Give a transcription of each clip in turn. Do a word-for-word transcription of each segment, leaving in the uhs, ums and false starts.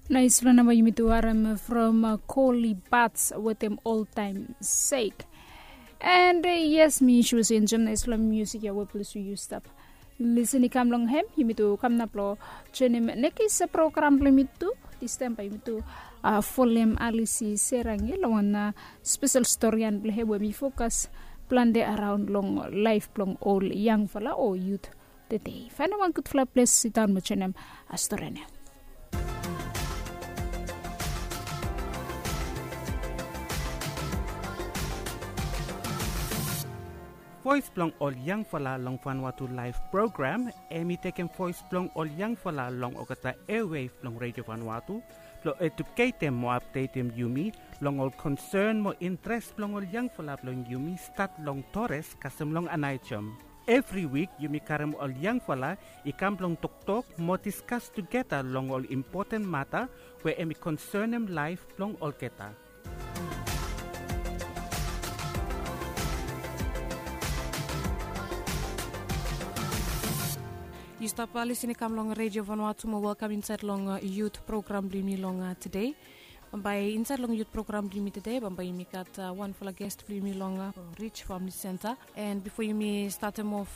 Nais long namba yumi tu harem from Koli Bats wetem Old Time Sake. And yes, mi sua se enjoem nais long musik ya we ples yu stap lisen i kam long hem. Yumi tu kam nap long joinim nekis program blong yumi tu. Distaem bae yumi tu folem Alisi Serangi long wan spesel storian blong hem we mi fokas plante araon long laef blong ol yangfala o yut tede. Faenem wan gudfala ples sidaon mo joinim storian ya. Voes blong ol yangfala long Vanuatu Laef Program, hem i tekem voes blong ol yangfala long olgeta airwave blong Redio Vanuatu blong eduketem mo apdetem yumi long ol konsen mo intres blong ol yangfala blong yumi stat long Torres kasem long Anaijom. Evri wik yumi karem ol yangfala i kam blong toktok mo diskas tugeta long ol impoten mata we hem i konsenem laef blong olgeta. Yu stap lisen i kam long Redio Vanuatu mo welkam insaed long yut program blong yumi long tede. Bambae insaed long yut program blong yumi tede bambae yumi gat wanfala ges blong yumi long Rich Famili Senta. And bifo yumi statem of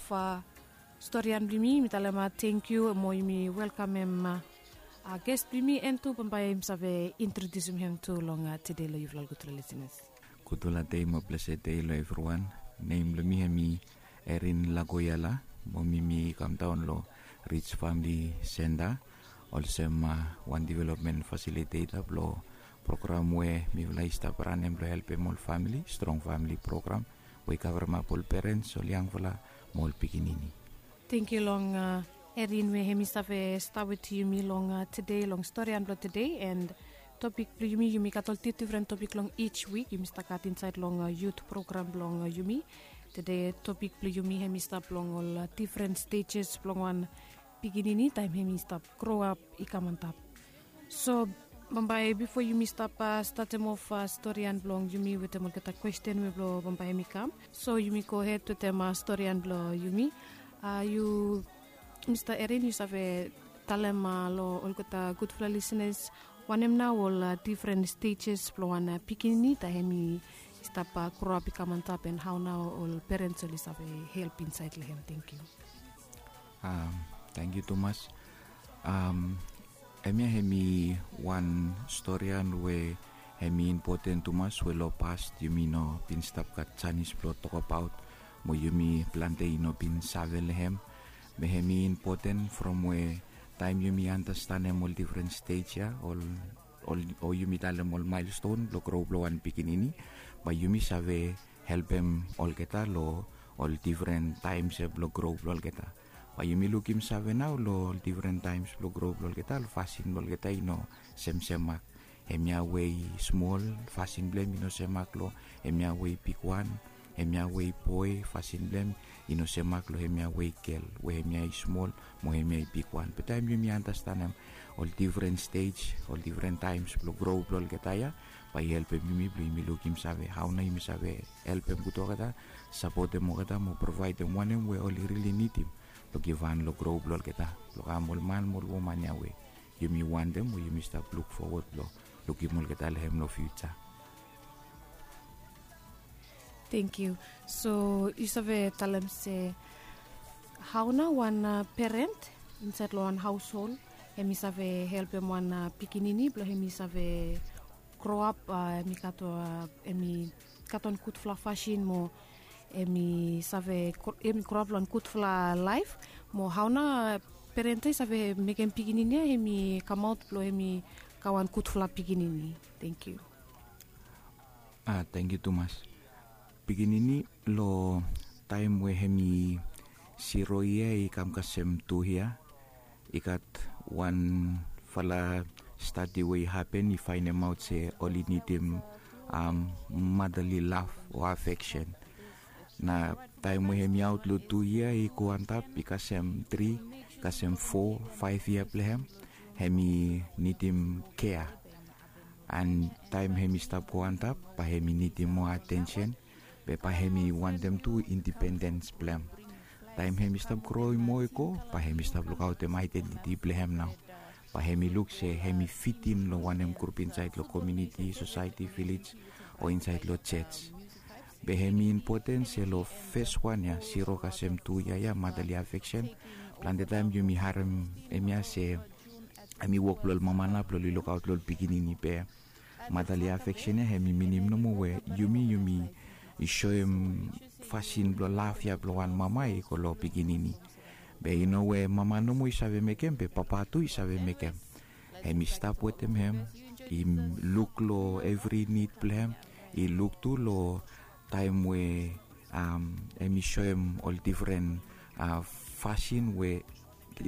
storian blong yumi, yumi talem tangkiu mo yumi welkamem ges blong yumi, and tu bambae yumi save introdiusim hem tu long tede long yufala ol gudfala lisenas. Gudfala dei mo blesed dei long evriwan. Nem blong mi hem i Erin Lagoyala, mo mi mi kamdaon long Rich Famili Senta olsem wan developmen fasiliteta blong program we mifala i stap ranem blong helpem ol famili, Strong Famili Program, we i kavremap ol perens, ol yangfala mo ol pikinini. Tangkiu long Erin we hem i save stap wetem yumi long tede long storian blong tede. And topik blong yumi, yumi gat ol difdifren topik long each wik yumi stap gat insaed long yut program blong yumi. Tede topik blong yumi hem i stap long ol difren stejes blong wan pikinini taem hem i stap groap i kam antap. So bambae bifo yumi stap statem of storian blong yumi wetem olgeta kwesten we blong bambae hem i kam, so yumi gohed wetem storian blong yumi. Yu, Mista Erin, yu save talem long olgeta gudfala lisenas wanem nao ol difren stejes blong wan pikinini taem hem i stap groap i kam antap, and hao nao ol perens oli save help insaed long hem? Tangkiu. Tangkiu tumas. Hemia hem i wan storian we hem i impoten tumas we long pas yumi no bin stap gat janis blong tokbaot mo yumi plante i no bin save long hem. Be hem i impoten from we taem yumi andastanem ol difren stej ya, ol, o yumi talem ol maelston blong gro blong wan pikinini, bae yumi save helpem olgeta long ol difren taems ya blong gro blong olgeta. Bae yumi lukim save nao long ol difren taems blong gro blong olgeta, ol fasin blong olgeta i no semsem mak. Hemia we i smol, fasin blong hem i no sem mak long hemia we i bigwan. Hemia we i boe, fasin blong hem i no sem mak long hemia we i gel, we hemia i smol mo hemia i bigwan. Be taem yumi andastanem ol difren stej, ol difren taems blong gro blong olgeta ya, bae i helpem yumi blong yumi lukim save hao nao yumi save helpem gud olgeta, sapotem olgeta mo provaedem wanem we oli rili nidim blong givhan long gro blong olgeta blong kam ol man mo ol woman ya we yumi wantem mo yumi stap luk fowod blong lukim olgeta long hem long fiuja. Tangkiu. So yu save talem se hao nao wan peren insaed long wan haoshol hem i save helpem wan pikinini blong hem i save groap, hem i gat, hem i gat wan gudfala fasin mo hem i save, hem i groap long wan gudfala laef? Mo hao nao peren ya i save mekem pikinini ya hem i kamaot blong hem i gat wan gudfala pikinini? Tangkiu. A, tangkiu tumas. Pikinini long taem we hem i siro yia i kam kasem tu yia, i gat wanfala stadi we i hapen i faenemaot se oli nidim motherly love o affection. Na taem we hem i aot long tu yia i go antap i kasem tri, kasem fo, faef yia blong hem, hem i nidim kea. And taem hem i stap go antap bae hem i nidim moa atensen, be bae hem i wantem tu indipendens blong hem. Taem hem i stap groem moa i go, bae hem i stap lukaotem aedentiti blong hem nao. Bae hem i luk se hem i fitim long wanem grup insaed long komiuniti, sosaeti, vilej, o insaed long joj. Be hem i impoten se long fes wan ya, siro kasem tu ya ya, madali afeksen. Plante taem yumi harem hem ya se hem i wok blong ol mama nao blong oli lukaot long ol pikinini. Be madali afeksen ya hem i minim nomo we yumi yumi i soem fasin blong laf ya blong wan mama i go long pikinini. Be i no we mama nomo i save mekem, be papa tu i save mekem. Hem i stap wetem hem, i luk long evri nid blong hem, i luk tu long taem we hem i soem ol difren fasin we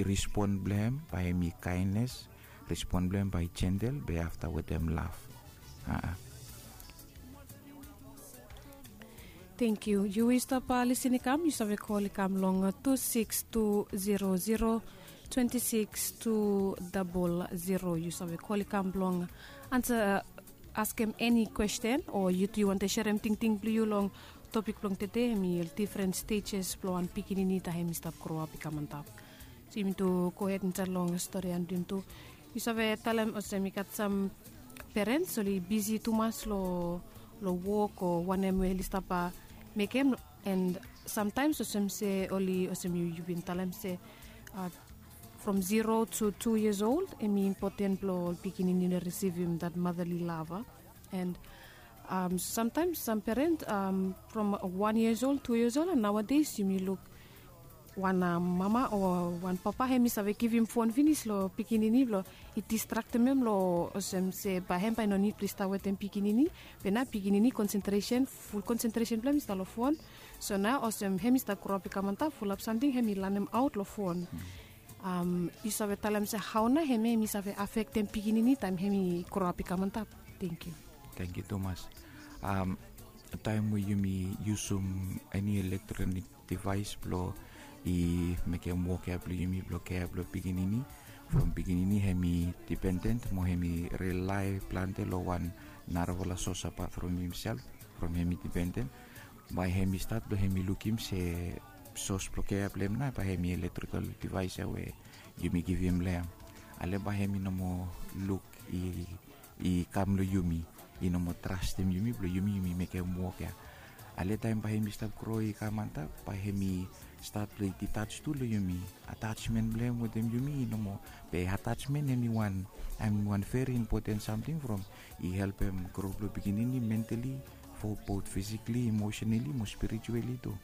respon blong hem bae hem i kaenes, respon blong hem bae i jentel, be afta wetem laf. Tengkiu. Yu i stap lisin i kam, yu save kol i kam long tu sikis tu zero zero twenti sikis tu dabol zero. Yu save kol i kam blong ansa, askem eni kwesten, o yu tu yu wantem serem tingting blong yu long topik blong tede, hem i ol difren stejes blong wan pikinini taem hem i stap groap i kam antap. So yumi tu gohed insaed long stori blong yumi tu. Yu save talem olsem i gat sam perens oli bisi tumas long wok o wanem we oli stap mekem, and samtaems olsem se oli, olsem yu bin talem se from zero tu tu yias old, hem i impoten blong ol pikinini oli risivim dat madali lava. And samtaems sam peren from wan yias old, tu yias old, and naoades yumi luk wan mama o wan papa hem i save givim fon finis long pikinini blong i distraktem hem long olsem se bae hem bae i no nid blong i stap wetem pikinini. Be nao pikinini konsentresen, ful konsentresen blong hem i stap long fon. So nao olsem hem i stap groap i kam antap, fulap samting hem i lanemaot long fon. Yu save talem se hao nao hemia hem i save afektem pikinini taem hem i groap i kam antap? Tengkiu. Tengkiu tumas. Taem we yumi yusum eni elektronik divaes blong i mekem wok ya blong yumi blong kea blong pikinini, from pikinini hem i dipenden mo hem i rilae plante long wan narafala sos apat from himsel, from hem i dipenden. Bae hem i stat blong hem i lukim se sos blong kea blong hem nao bae hem i elektrikal divaes ya we yumi givim long hem. Ale bae hem i no moa luk i i kam long yumi, i no moa trastem yumi blong yumi yumi mekem wok ya. Ale taem bae hem i stap gro i kam antap, bae hem i stat blong i ditaj tu long yumi. Atajmen blong hem wetem yumi i no moa. Be atajmen hem i wan, hem i wan veri impoten samting from i helpem gro blong pikinini mentali, fo bot fisikali, emosenali mo spirituali tu.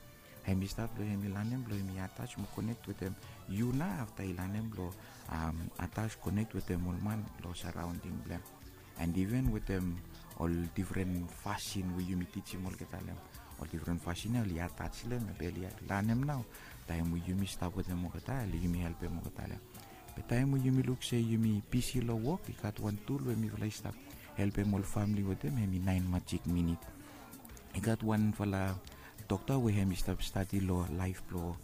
Hem i stat blong hem i lanem blong hem i ataj mo konek wetem yu nao afta i lanem blong ataj konek wetem ol man long saraonding blong hem. And iven wetem ol difren fasin we yumi tijim olgeta long hem, ol difren fasin ya oli ataj long hem, be oli lanem nao. Taem we yumi stap wetem olgeta, oli yumi helpem olgeta long hem. Be taem we yumi luk se yumi bisi long wok, i gat wan tul we mifala i stap helpem ol famili wetem, hem i naen majik minit. I gat wanfala dokta we hem i stap stadi long laef blong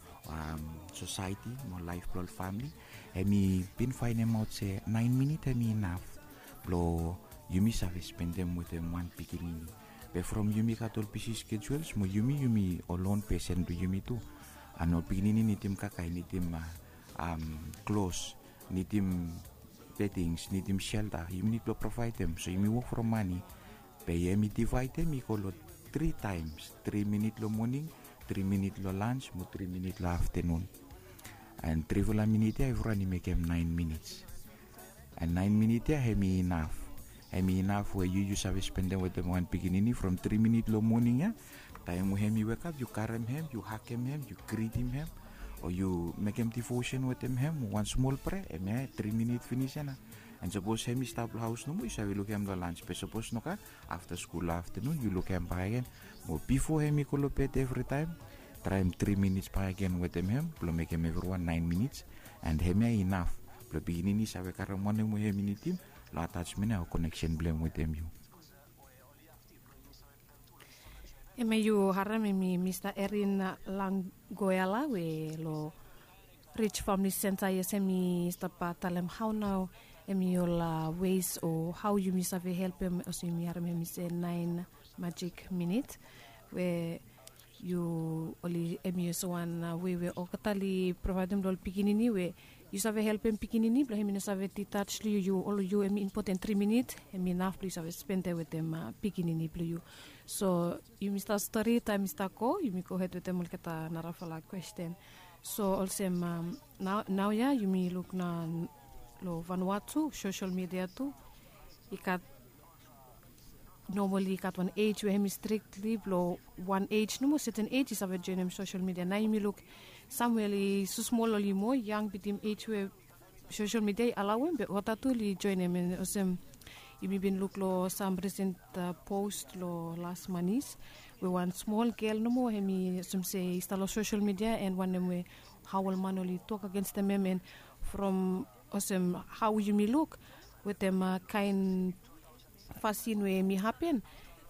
sosaeti mo laef blong ol famili. Hem i bin faenemaot se naen minit hem i inaf blong yumi save spendem wetem wan pikinini. Be from yumi gat ol bisi skejuels mo yumi yumi ol on pesen blong yumi tu. And ol pikinini nidim kakae, nidim klos, nidim bedings, nidim selta, yumi nid blong provaedem. So yumi wok from mane. Be hem i divaedem i go long tri taems, tri minit long moning, tri minit long lans mo tri minit long aftenun. And trifala minit ya evriwan i mekem naen minits. And naen minit ya hem i inaf. Hem i inaf we yu yu save spendem wetem wan pikinini from tri minit long moning ya. Taem we hem i wekap yu karem hem, yu hagem hem, yu gritim hem, o yu mekem divosen wetem hem, wan smol prea, hemia tri minit finis ya nao. And sapos hem i stap long haos nomo, yu save lukim hem long lans. Be sapos nogat, afta skul aftenun yu lukim hem bakegen. Mo bifo hem i go long bed evritaem, traem tri minits bakegen wetem hem blong mekem evriwan naen minits. And hemia i inaf blong pikinini i save karem wanem we hem i nidim long atajmen ya o koneksen blong hem wetem yu. Hemia yu harem hem i Mista Erin Langgoela we long Rij Famili Senta, yes, hem i stap talem hao nao hem i ol wes o hao yumi save helpem, olsem yumi harem hem i se naen majik minit we yu oli, hem i olsem wan wei we olgeta oli provaedem long ol pikinini we Yu save helpem pikinini blong hem i no save ditaj long yu yu ol yu hem i impoten tri minit hem i naf blong yu save spendem wetem pikinini blong yu. So yumi stap stori taem i stap go yumi gohed wetem olgeta narafala kwesten. So olsem nao ya yumi luk na long vanua tu sosel midia tu i gat nomali i gat wan ej we hem i strikli blong wan ej nomo seten ej i save joenem sosel midia nao yumi luk samwel i susmol oli moa yang bitim ej we sosel midia i alawem be wata tu oli joenem en olsem yumi bin luk long sam risen pos long las manis we wan smol gel nomo hem i olsem se i stap long sosel midia en wanem we hao ol man oli tok agenstem hem en from olsem hao yumi luk wetem kaen fasin we hem i hapen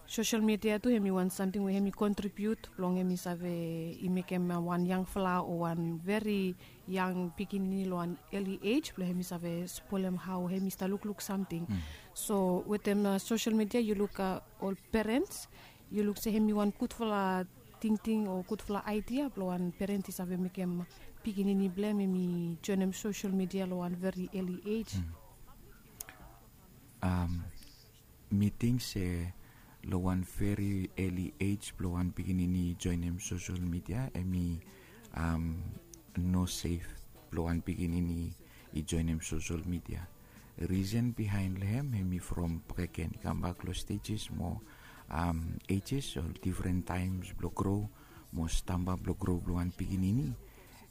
sosel midia tu hem i wan samting we hem i kontribiut blong hem i save i mekem wan yangfala o wan veri yang pikinini long wan eli ej blong hem i save spolem hao hem i stap lukluk samting. So wetem sosel midia yu luk ol perens yu luk se hem i wan gudfala tingting o gudfala aidia blong wan perens i save mekem pikinini blong hem hem i joenem sosel midia long wan veri eli ej. Mi ting se long wan veri eli ej blong wan pikinini i joenem sosel midia hem i no sef blong wan pikinini i joenem sosel midia. Risen bihaen long hem hem i from bakegen i kambak long stejes mo ejes o difren taems blong gro mo stamba blong gro blong wan pikinini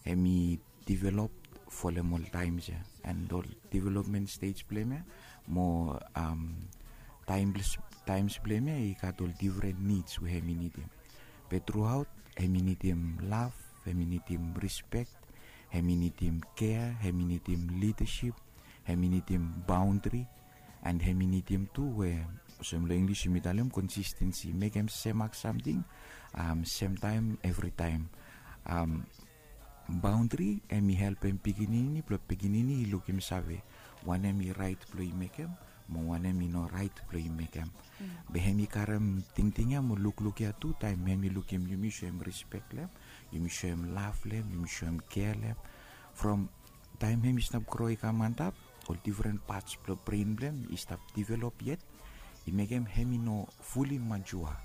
hem i divelop folem ol taems ya en ol divelopmen stej blong hem ya mo taems blong hem ya i gat ol difren nids we hem i nidim. Be truaot hem i nidim laf, hem i nidim rispek, hem i nidim kea, hem i nidim lidasip, hem i nidim baondri, en hem i nidim tu we olsem long inglis yumi talem konsistensi mekem semak samting semtaem evritaem. Baondri hem i helpem pikinini blong pikinini i lukim save wanem i raet blong i mekem mo wanem i no raet blong i mekem. Be hem i karem tingting ya mo lukluk ya tu taem hem i lukim yumi soem rispek long hem, yumi soem laf long hem, yumi soem kea long hem. From taem hem i stap gro i kam antap ol difren pats blong bren blong hem i stap divelop yet i mekem hem i no fuli majua.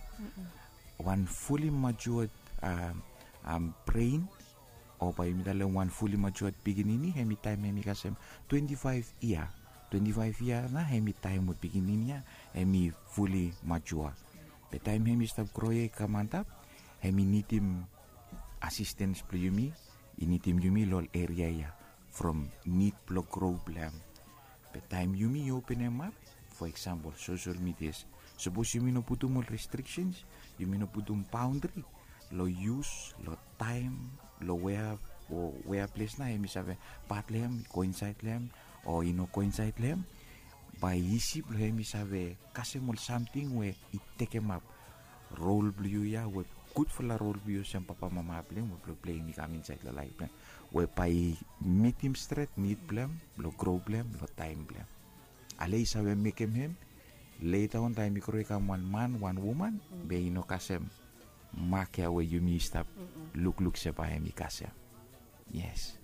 Wan fuli majua bren o bae yumi talem wan fuli majua pikinini hem i taem hem i kasem twenti faef yia. Twenti faef yia nao hem i taem we pikinini ya hem i fuli majua. Be taem hem i stap gro ya i kam antap hem i nidim asistens blong yumi, i nidim yumi long ol eria ya from nid blong gro blong hem. Be taem yumi i openemap fo eksampol sosel midias, sapos yumi no putum ol restriksens, yumi no putum baondri long yus long taem long wea o wea ples nao hem i save pat long hem i go insaed long hem o i no go insaed long hem, bae isi blong hem i save kasem ol samting we i tekemap rol blong yu ya we gudfala rol blong yu olsem papamama blong hem we blong pleim i kam insaed long laef blong hem we bae i mitim stret nid blong hem blong gro blong hem long taem blong hem. Ale i save mekem hem leta on taem i gro i kam wan man wan woman be i no kasem mak ya we yumi i stap lukluk se bae hem i kasem. Yes.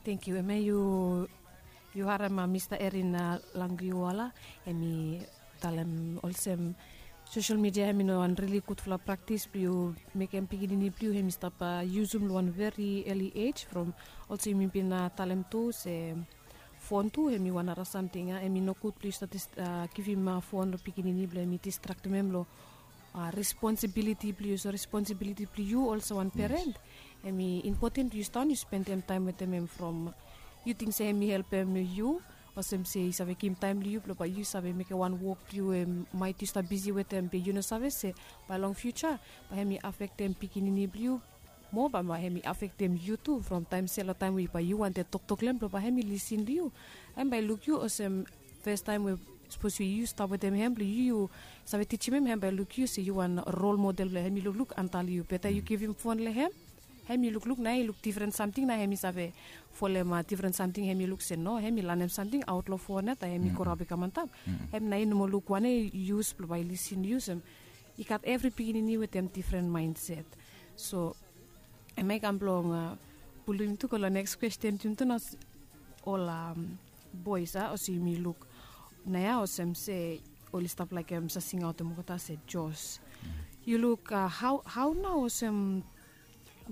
Tengiu hemia yu harem mista erin langriuala hem i talem olsem sosel midia hem i no wan rili gudfala praktis blong yu mekem pikinini blong yu hem i stap yusum long wan veri eli ej from olsem yumi bin talem tu se fon tu hem i wan nara samting ya hem i nogud blong yu stap givim fon long pikinini blong hem i distraktim hem long responsibiliti blong yu so responsibiliti blong yu olsem wan peren. Hem i impoten blong yu stap on yu spendem taem wetem hem from yu ting se hem i helpem yu olsem se i save givim taem long yu blong bae yu save mekem wan wok blong yu we maet yu stap bisi wetem be yu no save se bae long fiuja bae hem i afektem pikinini blong yu moa bae hem i afektem yu tu from taem se long taem we bae yu wantem toktok long hem blong bae hem i lisin long yu. Hem bae i luk yu olsem fes taem we sapos we yu stap wetem hem blong yu yu save tijim hem hem bae i luk yu se yu wan rol model blong hem i lukluk antap long yu beta yu givim fon long hem. Hem i lukluk nao i luk difren samting nao hem i save folem difren samting hem i luk se no hem i lanem samting aot long fon ya taem hem i go raob i kam antap. Hem nao i no moa luk wanem i yus blong bae i lisin yus hem i gat evri pikinini wetem difren maenset. So hemia i kam blong Pulim tu go long next question, tumtu na ol boys a olsem yumi luk na ya olsem se oli stap laik em sa singaotem olgeta se Jos. Yu luk hau nao olsem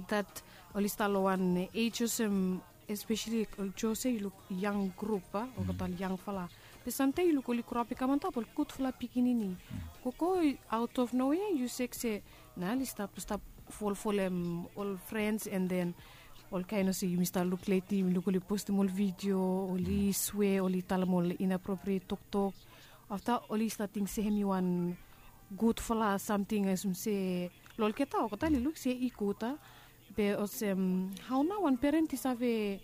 dat oli stap long wan age olsem, especially ol Jos ya yu luk yang grup a olgeta ol yangfala. Be samtaim yu luk oli groapim i kam antap ol gudfala pikinini. Gogo out of nowhere yu sek se na oli stap stap folfolem ol frens and then ol kain olsem yumi stap luk leti yumi luk oli postim ol vidio, oli swe, oli talem ol inappropriate toktok. Afta oli stap ting se hem i wan gudfala samting olsem se long olgeta olgeta oli luk se i gud a. Be olsem hau nao wan peren i save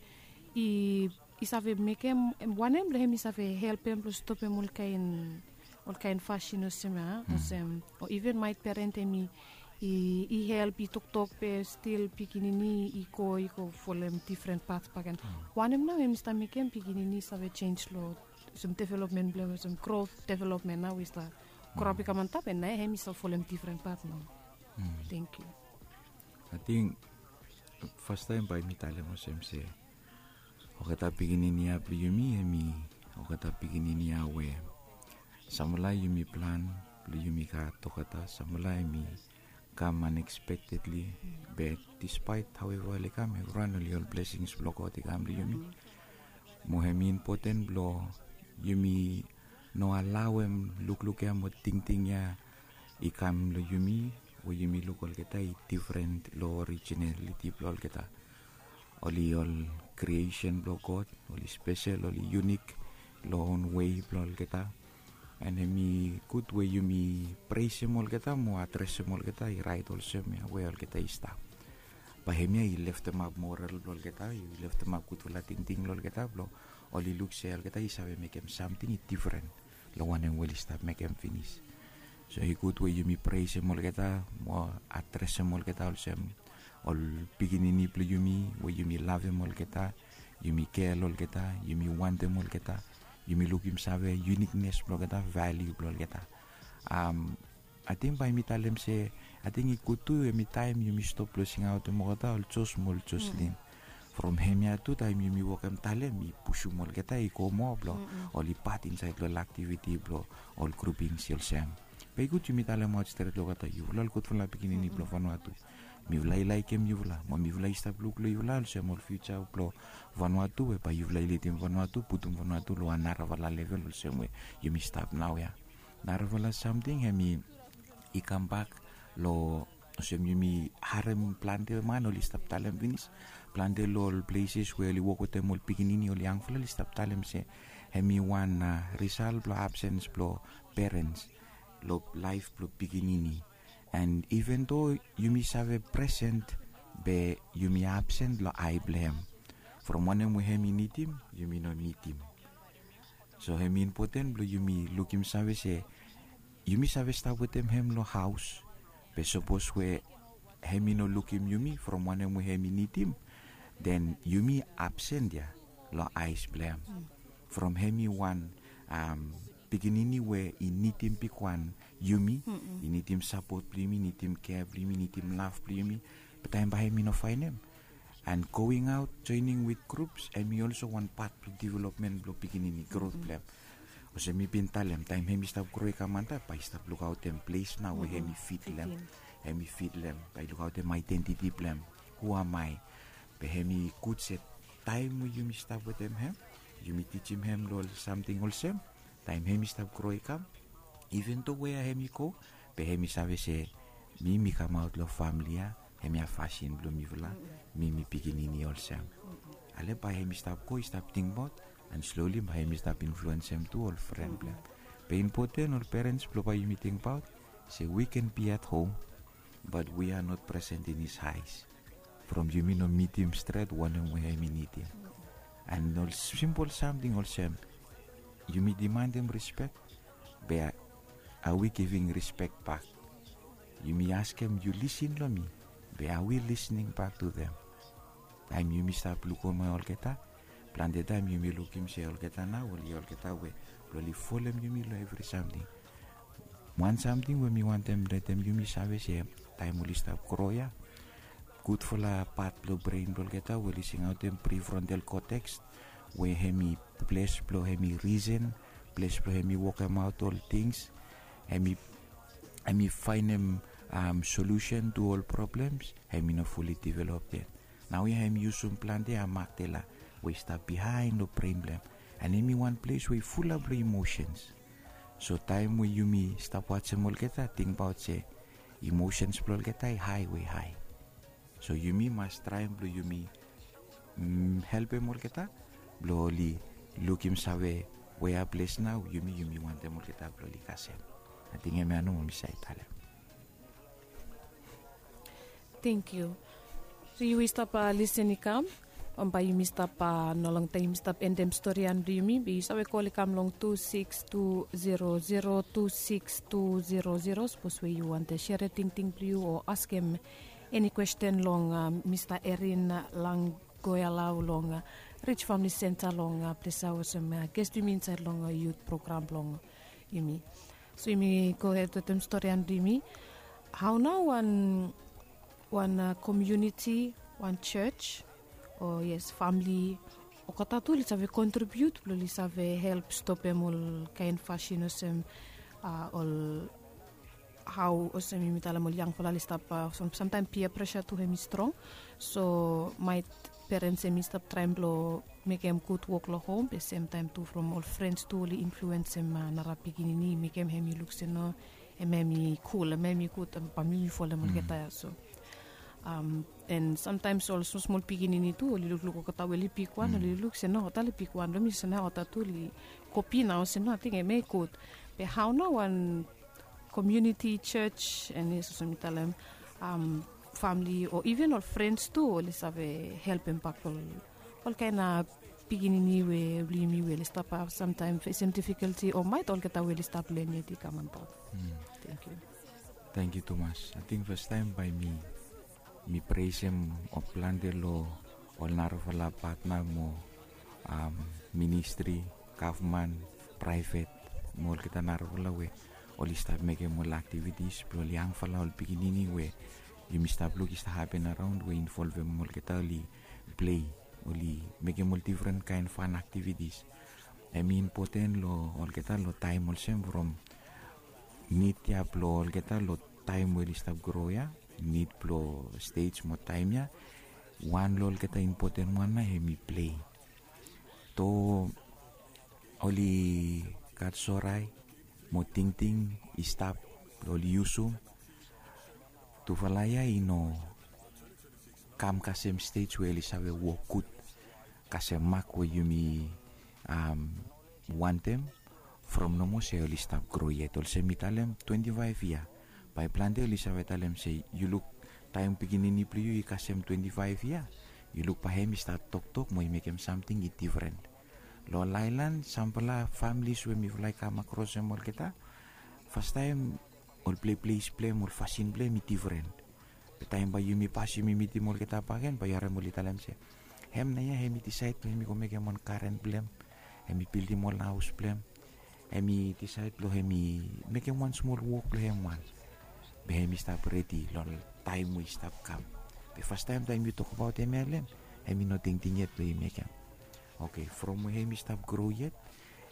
i i save mekem wanem blong hem i save helpem blong stopem ol kain ol kain fasin olsem a olsem o even maet peren hem i i help i toktok be stil pikinini i go i go folem difren pat baken. Wanem nao hem i stap mekem pikinini i save jenj long olsem developmen blong hem olsem grot developmen nao i stap grop i kam antap en nao hem i stap folem difren pat nao. Thank you. Ating fastaim bae mi talem olsem se olgeta pikinini ya blong yumi hem i olgeta pikinini ya we samfala yumi plan blong yumi gat olgeta samfala hem i kam unexpectedly. Be despite haueva oli kam evriwan oli ol blesings blong God i kam long yumi. Mo hem i impoten blong yumi no alaoem lukluk ya mo tingting ya i kam long yumi we yumi luk olgeta i difren long orijinaliti blong olgeta. Oli ol kriesen blong God, oli spesel, oli yunik long on wei blong olgeta. En hem i gud we yumi presem olgeta mo adresem olgeta i rait olsem ya we olgeta i stap. Bae hemia i leftemap moral blong olgeta, i leftemap gudfala tingting long olgeta blong oli luk se olgeta i save mekem samting i difren long wanem we oli stap mekem finis. So i gud we yumi presem olgeta mo adresem olgeta olsem ol pikinini blong yumi we yumi lavem olgeta, yumi kel olgeta, yumi wantem olgeta, yumi lukim save yuniknes blong olgeta, valiu blong olgeta. Ating bae mi talem se ating i gud tu hem i taem yumi stop blong singaotem olgeta ol Jos mo ol Joslin. From hemia tu taem yumi wokem talem i pusum olgeta i go moa blong oli pat insaed long ol aktiviti blong ol grupings i olsem. Be i gud yumi talemaot stret long olgeta yufala ol gudfala pikinini blong Vanuatu. Mifala i laikim yufala mo mifala i stap luk long yufala olsem ol fiuja blong Vanuatu we bae yufala i lidim Vanuatu, putum Vanuatu long wan narafala level olsem we yumi stap naoia. Narafala samting hem i i kambak long olsem yumi harem plante man oli stap talem finis. Plante long ol pleses we oli wok wetem ol pikinini oli yangfala oli stap talem se hem i wan risal blong absens blong perens long laef blong pikinini. And even do yumi save present be yumi absen long ai blong hem. From wanem we hem i nidim yumi no nidim. So hem i impoten blong yumi lukim save se yumi save stap wetem hem long haos. Be sapos we hem i no lukim yumi from wanem we hem i nidim, den yumi absen ya long aes blong hem. From hem i wan pikinini we i nidim bigwan yumi, i nidim sapot blong yumi, nidim kea blong yumi, nidim lav blong yumi. Be taem bae hem i no faenem. And going out joining with groups hem i olso wan pat blong developmen blong pikinini grot blong hem. Olsem mi bin talem taem hem i stap gro i kam antap bae i stap lukaotem ples nao we hem i fit long hem. Hem i fit long hem bae i lukaotem aedentiti blong hem. Hu am ai? Be hem i gud se taem we yumi stap wetem hem, yumi tijim hem long ol samting olsem, taem hem i stap gro i kam, even do wea hem i go, be hem i save se mi mi kamaot long famili ya. Hemia fasin blong mifala. Mi mi pikinini olsem. Ale bae hem i stap go i stap tingbaot, and slowly bae hem i stap influensem tu ol fren blong hem. Be impoten ol perens blong bae yumi tingbaot se we can be at home, but we are not present in his eyes. From yumi no mitim stret wanem we hem i nidim. And ol simpol samting olsem, yumi dimantem rispek, be are we giving respect back? Yumi askem yu lisin long mi, be are we listening back to them? Taem yumi stap lukim olgeta, plante taem yumi lukim se olgeta nao oli olgeta we blong oli folem yumi long evri samting. Wan samting we mi wantem letem yumi save se taem oli stap gro ya, gudfala pat blong bren blong olgeta we oli singaotem prefrontal cortex, we hem i ples blong hem i risen, ples blong hem i wokemaot ol tings, hem i hem i faenem solusen tu ol problems, hem i no fuli develop yet. Naoia hem i yusum plante amagdela we i stap bihaen long bren blong hem, and hem i wan ples we i fulap long emotions. So taem we yumi stap wajem olgeta, tingbaot se emotions blong olgeta i hae we i hae. So yumi mas traem blong yumi helpem olgeta blong oli lukim save wea ples nao yumi yumi wantem olgeta blong oli kasem. Ating hemia nomo mi save talem. Thank you. So yu i stap listen i kam, bae yumi stap, no long taem yumi stap endem storian blong yumi, be yu save kol i kam long tu sikis tu zero zero, tu sikis tu zero zero, sapos we yu wantem sere tingting blong yu o askem eni kwesten long Mista Erin Langgoelau long Rich Famili Senta long ples ya olsem ges blong yumi insaed long yut program blong yumi. So yumi gohed wetem storian blong yumi. Hao nao wan wan komuniti, wan jos, o yes, famili, olgeta tu oli save kontribiut blong oli save help stopem ol kaen fasin olsem ol, hao olsem yumi talem ol yangfala oli stap, samtaem pia presa tu hem i strong. So maet perens hem i stap traem blong mekem gud wok long hom, be semtaem tu from ol frens tu oli influensem nara pikinini, mekem hem i luk se no, hem hem i kul, hem hem i gud, bae mi folem olgeta ya. So and samtaem ol smol smol pikinini tu oli lukluk olgeta we oli bigwan, oli luk se no, olgeta oli bigwan long mi, se nao olgeta tu oli kopi nao se no, ating hem hem i gud. Be hao nao wan komuniti, jos, and yes, olsem mi talem, famili o even ol frens tu oli save helpem bak ol, ol kaen pikinini we blong yumi we oli stap samtaem fesem difikulti o maet olgeta we oli stap len yet i kam antap. Tangkiu. Tangkiu tumas. Ating fastaem bae mi mi presem ol plante long ol narafala patna mo ministri, gavman, praevet mo olgeta narafala we oli stap mekem ol aktivitis blong ol yangfala, ol pikinini we yumi stap luk i stap hapen araon we involvem olgeta oli plei, oli mekem ol difren kaen fan aktivitis. Hem i impoten long olgeta long taem olsem from nid ya blong olgeta long taem we oli stap gro ya, nid blong stej mo taem ya, wan long olgeta impoten wan nao hem i plei. Do oli gat sorae mo tingting i stap blong oli yusum, tufala ya i no kam kasem stej we oli save wok gud kasem mak we yumi wantem. From nomo se oli stap gro yet, olsem mi talem twenti faef yia. Bae plante oli save talem se yu luk taem pikinini blong yu i kasem twenti faef yia, yu luk bae hem i stat toktok mo i mekem samting i difren. Long ol aelan samfala familis we mifala i kam akrosem olgeta, fastaem ol pleples blong hem, ol fasin blong hem i difren. Be taem bae yumi pasem yumi mitim olgeta bakegen, bae yu harem oli talem se hem nao ya hem i disaed blong hem i go mekem wan garen blong hem, hem i bildim ol haos blong hem, hem i disaed blong hem i mekem wan smol wok blong hem wan. Be hem i stap redi long taem we i stap kam. Be fastaem taem yu tokbaot hemia long hem, hem i no tingting yet blong i mekem. Oke, from we hem i stap gro yet,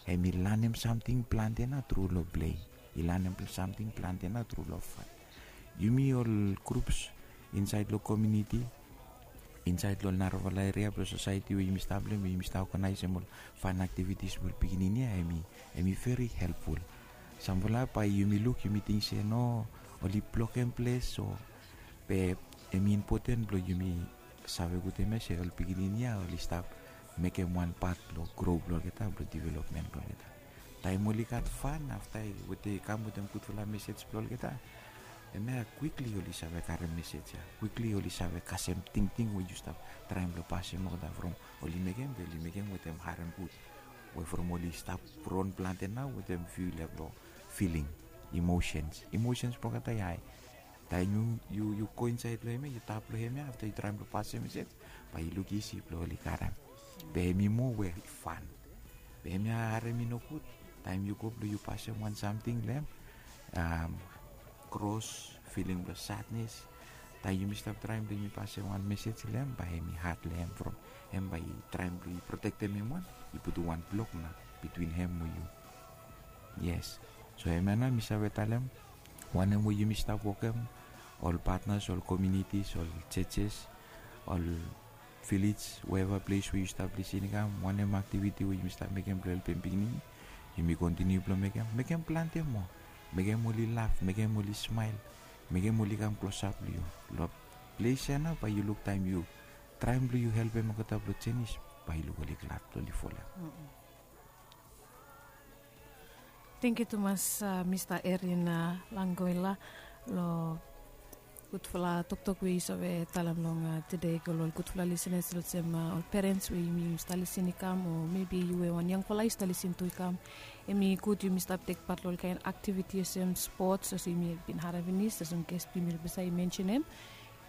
hem i lanem samting plante nao tru long plei, i lanem samting plante nao tru long fan. Yumi ol grups insaed long komuniti, insaed long ol narafala eria blong sosaeti we yumi stap long hem, we yumi stap oganaesem ol fan aktivitis blong ol pikinini ya, hem i veri helpful. Samfala bae yumi luk yumi ting se no, oli blokem ples o, be hem i impoten blong yumi save gud hemia se ol pikinini ya oli stap mekem wan pat blong gro blong olgeta, blong developmen blong olgeta. Taem oli gat fan afta we oli kam wetem gudfala mesej blong olgeta, hemia kwikli oli save karem mesej ya, kwikli oli save kasem tingting we yu stap traem blong pasem olgeta from oli mekem, be oli mekem wetem harem gud, we from oli stap ron plante nao wetem fiu lef long filing, imosens, imosens blong olgeta i hae. Taem yu yu go insaed long hemia, yu tap long hemia, afta yu traem blong pasem mesej, bae yu luk isi blong oli karem. Be hem i moa we fan. Be hemia harem i nogud taem yu go blong yu pasem wan samting long hem, kros, filing blong sadnes, Taem yumi stap traem blong yumi pasem wan mesej long hem, bae hem i had long hem from hem, bae i traem blong i protektem hem wan, i putum wan blok nao bitwin hem mo yu. Yes. So hemia nao mi save talem, wanem we yumi stap wokem, ol patnas, ol komiunitis, ol jejes, ol vilej, weva ples we yu stap lisin i kam, wanem aktiviti we yumi stap mekem blong helpem pikinini, yumi kontiniu blong mekem, mekem plante moa. Mekem oli laf, mekem oli smael, mekem oli kam klosap long yu. Long ples ya nao bae yu luk taem yu traem blong yu helpem olgeta blong jenis, bae yu luk oli glad blong oli folem. Tangkiu tumas, mista Erin Langoila, long gudfala toktok we yu save talem long tede i go long ol gudfala lisenas olsem ol perens we yumi stap lisin i kam, o mebi yu we wan yangfala yu stap lisin tu i kam. Hem i gud yumi stap tek pat long ol kaen aktiviti olsem spots olsem yumi bin harem finis olsem ges blong yumi long basaed i mensenem,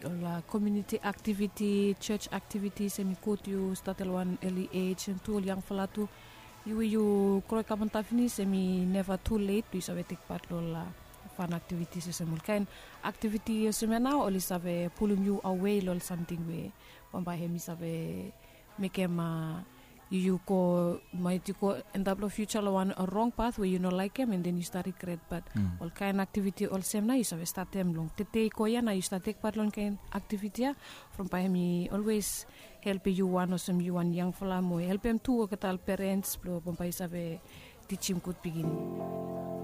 ol komiuniti aktiviti, jos aktivitis, hem i gud yu stat long wan eli ej, hem tu ol yangfala tu. Yu we yu gro i kam antap finis, hem i neva tu let blong yu save tek pat long ol fan aktivitis olsem ol kaen aktiviti olsem ya nao oli save pulum yu awe long ol samting we bambae hem i save mekem yu yu go, maet yu go antap long fiuja long wan rong pat we yu no laekem, and then yu stap rigret. Bat ol kaen aktiviti olsem nao yu save statem long tede i go ya nao yu stap tek pat long kaen aktiviti ya, from bae hem i olwes helpem yu wan olsem yu wan yangfala mo helpem tu olgeta ol perens blong bambae yu save tijim gud pikinini.